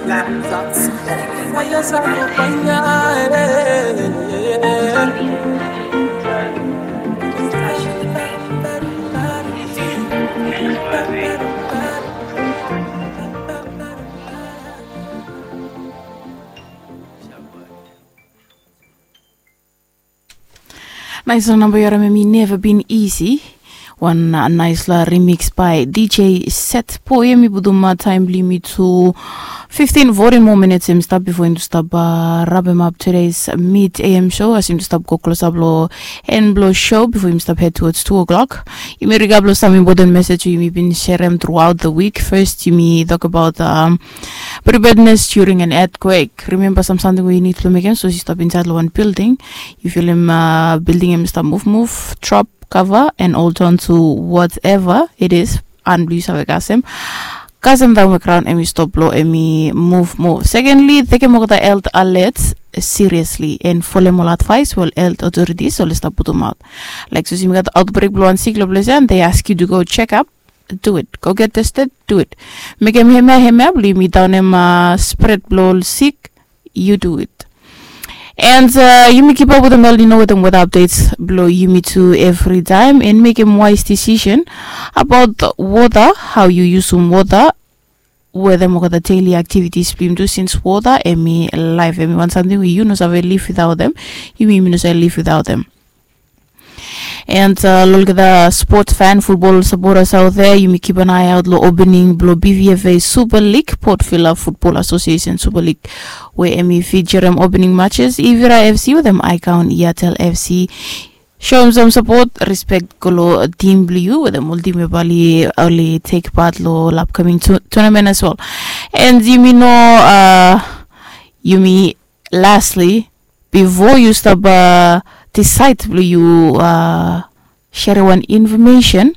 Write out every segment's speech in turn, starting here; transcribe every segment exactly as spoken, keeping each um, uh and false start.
Nais long namba yu harim em i Never Been Easy. Wan nais long remix by D J Set Boy. Em i putum taim bilong yumi tu fifteen fourteen moa minits em stap bifo yumi tu stap rabem ap today's mid A M show as yumi tu stap go klosap long en bilong show bifo yumi stap head towards two o'clock. Yumi rigap long sam important message we yumi bin sherem throughout the week. First yumi tok about um, preparedness during an earthquake. Remember sam samting we yu nid long mekim so yu stap insait long wan building. Yu filim uh, building em stap move move, drop, cover and hold on to whatever it is. An bilong yu save kasem kasem daun we graun em i stop lo em i move move. Secondly, tekem olgeta health alert seriously and folem ol advice we ol health authorities oli stap putumaut. Laik sus yumi gat outbreak bilong wan sik long ples ya and they ask you to go check up, do it. Go get tested, do it. Mekem hemia hemia bilong yumi daunem uh, spread bilong ol sik, you do it. And uh, yumi keep up with them, you know, with them with updates below yumi too every time and make a wise decision about water, how you use some water, whether olgeta daily activities bilong yumi tu since water em i life, em i wan something we you no save live without them. Yumi yumi no save live without them. And uh, olgeta sports fan, football supporters out there, yumi keep an eye out lo opening blo B V F A Super League, Port Vila Football Association Super League, where em i feature em opening matches Ivira F C with em Icon Yatel F C. Show em some support, respect go lo team blo you with em ol team we bali only take part lo upcoming tu- tournament as well. And yumi know uh, yumi lastly before you stop uh, decide blo you uh, share wan information,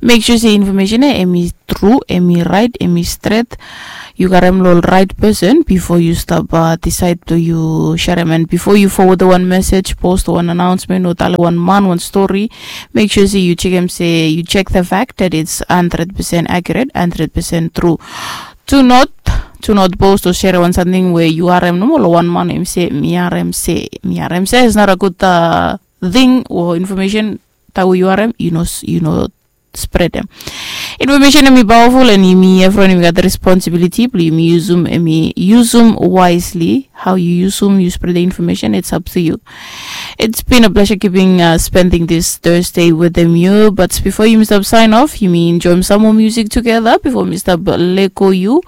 make sure say information eh, em i true, em i right, em i straight. You got em lo right person before you stop uh, decide blo you share em, and before you forward the one message, post one announcement or tell one man one story, make sure say you check em say you check the fact that it's hundred percent accurate, hundred percent true. Do not do not post or share one something where you are em normal or one man em say me are em say me are em say is not a good uh, thing or information that we are em you know you know spread em. Information em i powerful and yumi everyone yumi got the responsibility blo yumi use em em i use em wisely. How you use em, you spread the information, it's up to you. It's been a pleasure keeping uh, spending this Thursday with them you. But before you stop sign off, you mean enjoy some more music together before Mister Leko you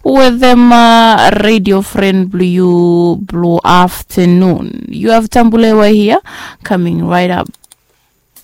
with them uh, radio friend blue you blue afternoon. You have Tambulewa here coming right up.